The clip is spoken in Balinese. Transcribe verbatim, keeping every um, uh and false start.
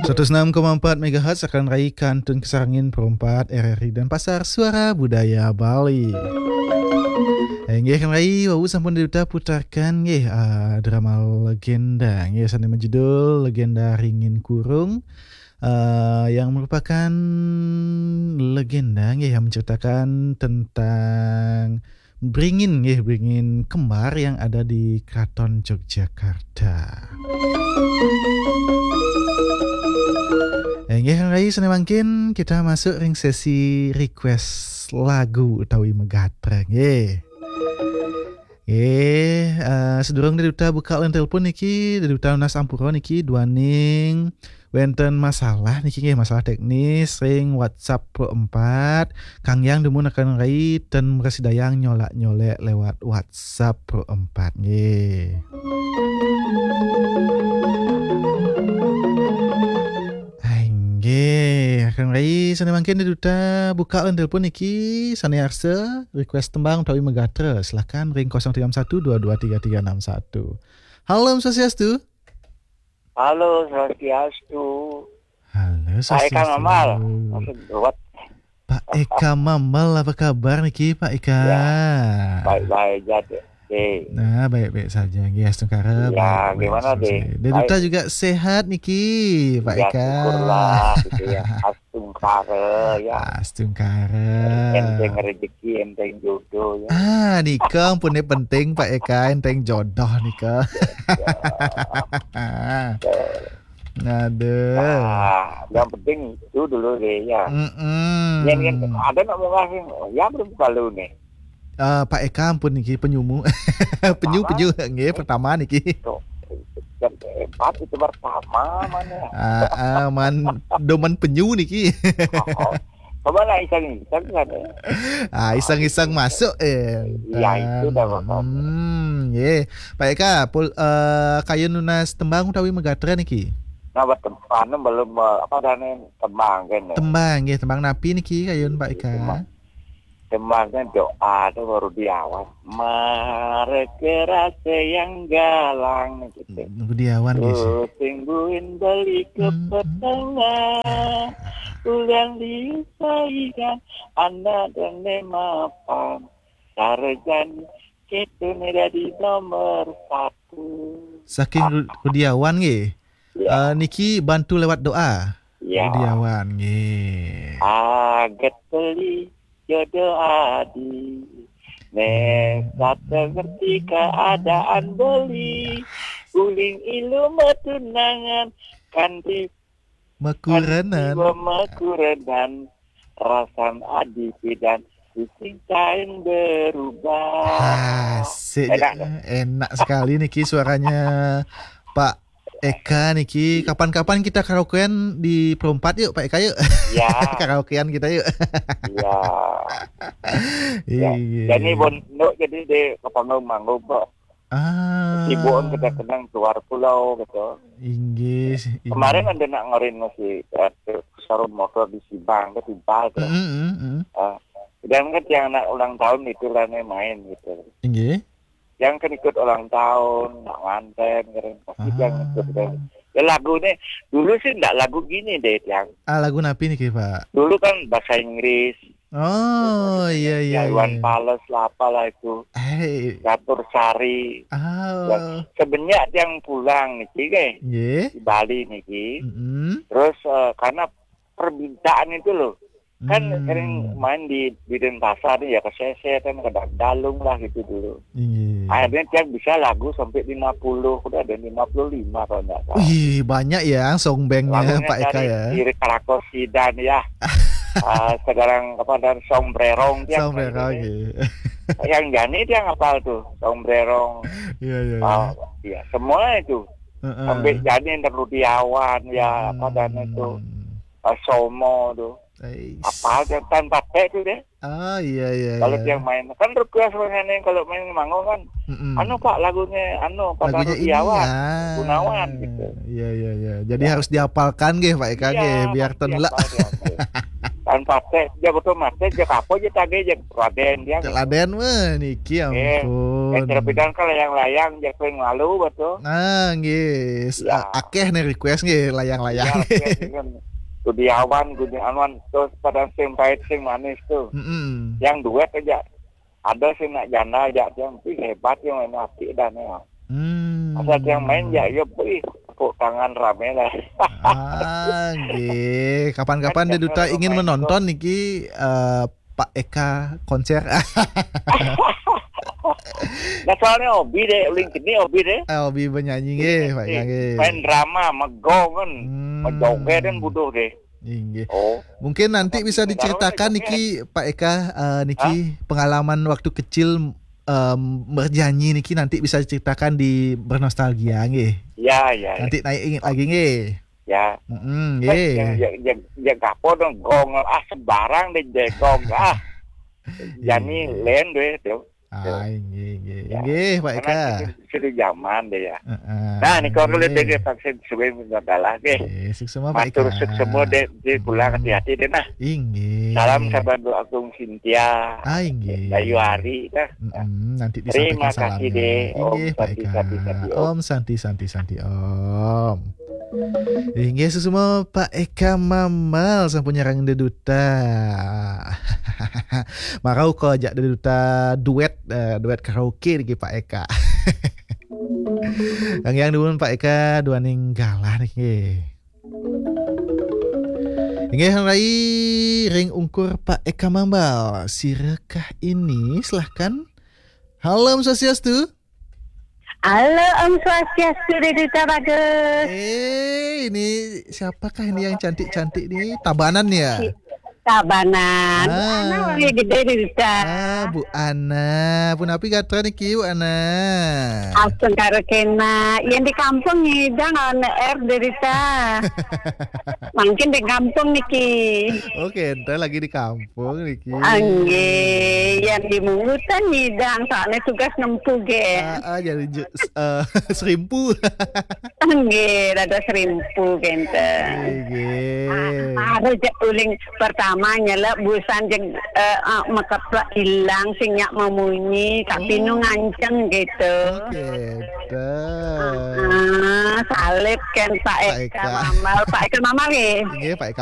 Seratus enam koma empat megahertz akan rai kantun kasarengin Pro empat R R I Denpasar, Suara Budaya Bali. Inggih, rai wau sampun diuta putarkan nggih, ah, drama legenda nggih, sane majudul Legenda Ringin Kurung, ah, yang merupakan legenda nggih, yang menceritakan tentang beringin nggih, beringin kembar yang ada di Keraton Yogyakarta. Eh, nggih, rai sane mangkin kita masuk ring sesi request lagu utawi megatra nggih. Nggih, eh, sedurung Deduta buka line telepon niki, Deduta nunas ampura niki duaning wenten masalah niki nggih, masalah teknis ring WhatsApp Pro empat. Kang Yang dumun akan rai ten mrasidayang nyolak-nyolek lewat WhatsApp Pro empat nggih. Hai, nggih, akan rai sane mangkin Deduta buka line telepon niki, sane arsa request tembang utawi megatra, silakan ring kosong tiga satu dua dua tiga tiga enam satu. Halo, Om Swastiastu. Halo, Swastiastu. Halo, Pak Eka Swastiastu. Mamal. Maksud buat. Pak Eka Mamal, apa kabar niki, Pak Eka? Ya, baik-baik aja, deh. Oke. Nah, baik-baik saja. Nggih, astungkara, ya, baik-baik gimana, saja. Dek? Deduta juga sehat niki, Pak Eka. Ya, syukurlah, gitu ya. Astungkara, ya. Astungkara. Enteng rezeki, enteng jodoh, ya. Ah, nika ampun penting, Pak Eka, enteng jodoh nika. Ya. Aduh. Nah, yang penting itu dulu deh, ya. Mm-mm. Yang, yang ada nak mau ngasih, ya belum kalau nih. Eh, Pak Eka ampun niki penyumu. Penyu, pertama, penyu, nggih, pertama niki. Tuh, yang hebat itu pertama mana? Ah, ah, man, doman penyu niki. Oh, coba lah iseng-iseng kan, ya. Ah, iseng-iseng masuk, eh. Iya, itu dah, Pak. Hmm, nggih. Pak Eka, pul, eh, kayun nunas tembang utawi megatra niki? Nah, buat tem-, anu, belum, eh, apa dane, tembang kan, ya. Tembang, nggih, tembang napi niki kayun, Pak Eka? Tembang. Tembangnya doa tuh baru diawan. Mare kerase yang galang gitu. Rudi Awan, nggih, sih. Sing buin beli ke petengah. Ulang disaikan anak dan lemapan. Sarjan kita ni jadi nomor satu. Saking Ru-, Rudi Awan, nggih. Ya. Eh, niki bantu lewat doa. Ya. Rudi Awan, nggih. Aget beli jodoh adi. Nek satu ngerti keadaan beli. Uling ilu metunangan. Kanti makurenan. Kanti makurenan. Rasan adi pidan. Sing kain berubah. Asik. Enak, enak sekali niki suaranya Pak Eka niki. Kapan-kapan kita karaokean di Perumpat yuk, Pak Eka, yuk. Ya. Karaokean kita yuk. Ya. Iya. Jadi bon, no, jadi di Kepangau manggung, Pak. Ah. Sibuk kita kenang keluar pulau gitu. Inggih, inggih. Kemarin ada nak ngorin masih, eh, sarung motor di Sibang, ke Timpal tuh. Mm, mm, mm. Ah, dan kan yang anak ulang tahun itu lah nih main gitu. Inggih. Yang kan ikut ulang tahun, nak nganten, kan. Pasti yang ikut kan. Ya lagu nih, dulu sih ndak lagu gini deh, yang. Ah, lagu napi niki, Pak? Dulu kan bahasa Inggris. Oh, iya, iya, Iwan Fals lah, apalah itu. Hei. Catur Sari. Ah. Ya, sebenyak yang pulang niki, nggih. Nggih. Di Bali niki. Mm-mm. Terus, eh, karena permintaan itu loh. Kan sering main di, di Denpasar nih ya, ke Sese kan, ke Dalung lah gitu dulu. Iya. Akhirnya dia bisa lagu sampai lima puluh, udah ada lima puluh lima kalau nggak salah. Wih, banyak ya song bandnya Pak Eka ya. Lagunya dari Krakos Sidan ya. Ah, sekarang apa, dan Sombrerong dia. Sombrerong, iya. Yang Jani dia ngapal tuh, Sombrerong. Iya, iya, iya. Ah, iya, semua itu. Heeh. Sampai Jani, Rudiawan ya, apa dan itu. Ah, Somo tuh. Ais. Apal dia, tanpa T tuh deh. Ah, iya, iya, kalau iya. Dia main, kan request sebenarnya kalau main manggung kan, mm-mm, anu, Pak, lagunya anu, Pak, lagunya ini, Rudiawan, ah, Gunawan gitu. Iya, iya, iya. Jadi ya, harus dihafalkan nggih, Pak Eka, iya, nggih, biar harus tenlek. Dihafal, dihafal. Kan patek, ja betul matek, ja kapo ja tage, ja Raden dia. Cek Raden mah niki, eh, ampun. Eh, cara pidan kan layang-layang, ja paling malu betul. Nah, nggih. S- Ya. A- akeh nih request nggih, layang-layang. Ya, oke, kan. Gudiawan, Gudiawan, terus pada sing pahit, sing manis tuh. Mm-mm. Yang duet aja. Ada sih nak janda aja, yang, "Wih, hebat ya main api dan ya." Hmm. Asal yang main ya, ya, wih, tepuk tangan rame lah. Ah, nggih. Kapan-kapan kan Dé Duta ingin menonton niki, eh, Pak Eka konser. Nah, soalnya hobi deh, uling geni hobi deh. Eh, hobi bernyanyi nggih, Pak Eka nggih. Main drama, megong kan. Hmm. Mejoget kan butuh deh. Inggih. Oh. Mungkin nanti bisa diceritakan niki, Pak Eka, eh, niki pengalaman waktu kecil, em, bernyanyi niki nanti bisa diceritakan di Bernostalgia nggih. Ya, ya, ya. Nanti naik ingat lagi nggih. Ya. Mm-mm, nggih. Ya, ya, ya, ya, gapo dong, gong, ah, sembarang deh, jegong, ah. Jani len deh, tuh. Ah, inggih, inggih. Ya. Inggih, Pak Eka. Karena itu sudah zaman deh ya. Heeh. Nah, nih kalau lihat deh vaksin suwe minta kalah deh. Nggih, suksma, Pak Eka. Matur suksma deh, di pulang hati-hati deh nah. Inggih. Salam sahabat Agung Sintia. Ah, inggih. Bayu Ari dah. Mm-mm, nanti disampaikan salamnya. Terima kasih deh. Inggih, Pak Eka. Om Santi, Santi, Santi, Om. Inggih, suksma Pak Eka Mamal sampun nyarengin Dé Duta. Marau kok ajak Dé Duta duet, eh, duet karaoke niki Pak Eka. Kang Yang dumun Pak Eka duaning galah niki. Inggih, rai ring ungkur Pak Eka Mamal. Sirakah ini? Silahkan. Halo, Om Swastiastu. Halo, Om Swastiastu, Dé Duta Bagus. Eh, ini siapakah ini yang cantik-cantik nih? Tabanan ya? Si-, Tabanan. Bu Ana, ah, orang gede, Dé Duta. Ah, Bu Ana. Punapi gatra niki, Bu Ana? Astungkara kena. Yang di kampung ngidang on air, Dé Duta. Mungkin di kampung niki. Oke, entar lagi di kampung. Pun niki. Nggih, yang di Mungutan ngidang, soalnya tugas nempuh nggih. Ah, ah, jadi je-, s-, eh, serimpu. Nggih, rada serimpu kenten. Nggih. Ah, harus je-, uling pertama nyelek busan jeg-, eh, eh, mekeplek ilang sing nyak memunyi, tapi nu nganceng gitu. Oke, dah. Ah, salib kan Pak Eka Mamal, Pak Eka Mamal nggih. Nggih, Pak Eka.